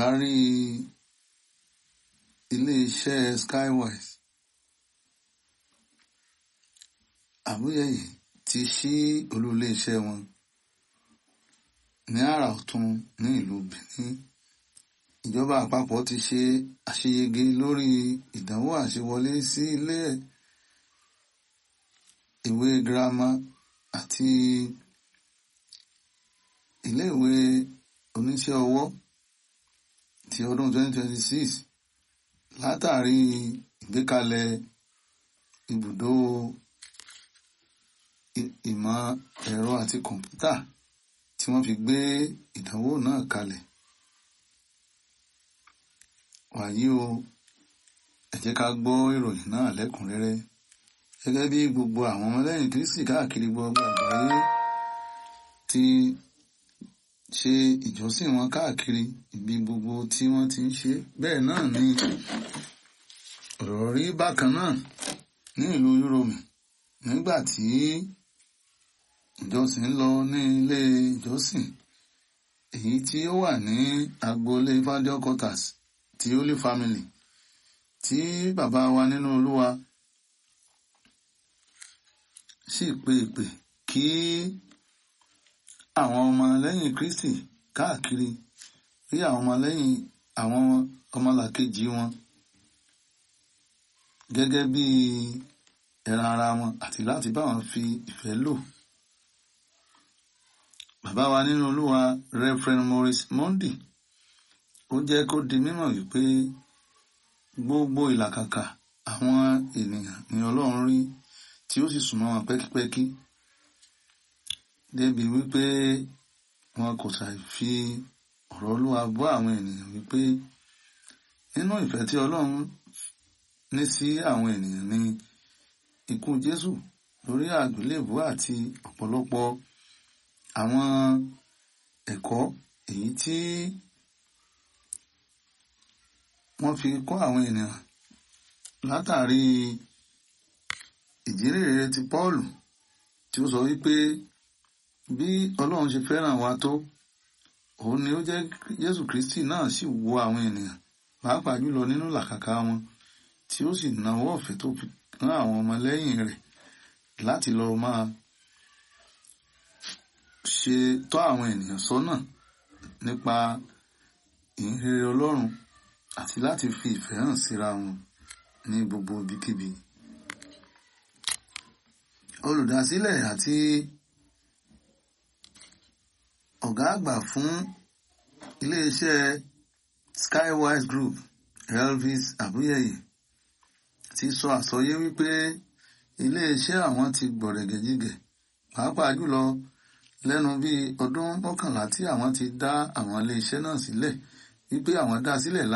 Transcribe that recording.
Olùdarí iléeṣẹ́ Skywise Àbúyẹ̀yẹ̀ ti ṣí olú iléeṣẹ́ wọn ní àrà ọ̀tún ní ìlú Benin. Ìjọba àpapọ̀ ti ṣe àṣeyege lórí ìdánwò àṣewọlé sí ilé ìwé girama àti ilé ìwé oníṣẹ́ ọwọ́ ti ọdún 2026 látàrí ìgbékalẹ̀ ibùdó ìmọ̀ ẹ̀rọ àti kọ̀ǹpútà tí wọ́n fi gbé ìdánwò náà kalẹ̀. Wàyí o, ẹ jẹ́ ká gbọ́ ìròyìn náà lẹ́kùnrẹ́rẹ́. Gẹ́gẹ́ bí gbogbo àwọn ọmọlẹ́yìn Kristi káàkiri gbogbo àgbáyé ti ṣe ìjọsìn wọn káàkiri ibi gbogbo tí wọ́n ti ń ṣe, bẹ́ẹ̀ náà ni ọ̀rọ̀ rí bákan náà ní ìlú Yúróòmù nígbà tí ìjọsìn ń lọ ní ilé ìjọsìn èyí tí ó wà ní agboolé Fájọ Quarters ti Holy Family tí bàbá wa nínú Olúwa sì pe ìpè kí àwọn ọmọ lẹ́yìn Kristi káàkiri rí àwọn ọmọ lẹ́yìn àwọn ọmọlàkejì wọn gẹ́gẹ́ bí ẹran ara wọn àti láti bá wọn fi ìfẹ́ lò. Bàbá wa nínú Olúwa Reverend Maurice Monday ó jẹ́ kó di mímọ̀ wípé gbogbo ìlàkàkà àwọn ènìyàn ni Ọlọ́run rí tí ó sì súnmọ́ wọn pẹ́kípẹ́kí débi wípé wọn kò ṣàì fi ọ̀rọ̀ Olúwa bọ́ àwọn ènìyàn wípé nínú ìfẹ́ tí Ọlọ́run ní sí àwọn ènìyàn ni ikú Jésù lórí àgbélébùú àti ọ̀pọ̀lọpọ̀ àwọn ẹ̀kọ́ èyí tí wọ́n fi kọ́ àwọn ènìyàn látàrí ìjírèrè ti Pọ́ọ̀lù tí ó sọ wípé bí Ọlọ́run ṣe fẹ́ràn wa tó, òun ni ó jẹ́ Jésù Kristi náà sì wo àwọn ènìyàn pàápàá jùlọ nínú làkàkà wọn tí ó sì nawọ́ ọ̀fẹ́ tó fi rán àwọn ọmọlẹ́yìn rẹ̀ láti lọ máa ṣe tọ́ àwọn ènìyàn sọ́nà nípa ìhìnrere Ọlọ́run àti láti fi ìfẹ́ hàn síra wọn ní gbogbo ibikíbi. Olùdásílẹ̀ àti ọ̀gá àgbà fún iléeṣẹ́ Skywise Group Elvis Abuyeye ti sọ àsọyé wípé iléeṣẹ́ àwọn ti gbọ̀rẹ̀gẹ̀jigẹ̀ pàápàá jùlọ lẹ́nu bíi ọdún 11 tí àwọn ti dá àwọn iléeṣẹ́ náà sílẹ̀ wípé àwọn dá sílẹ̀.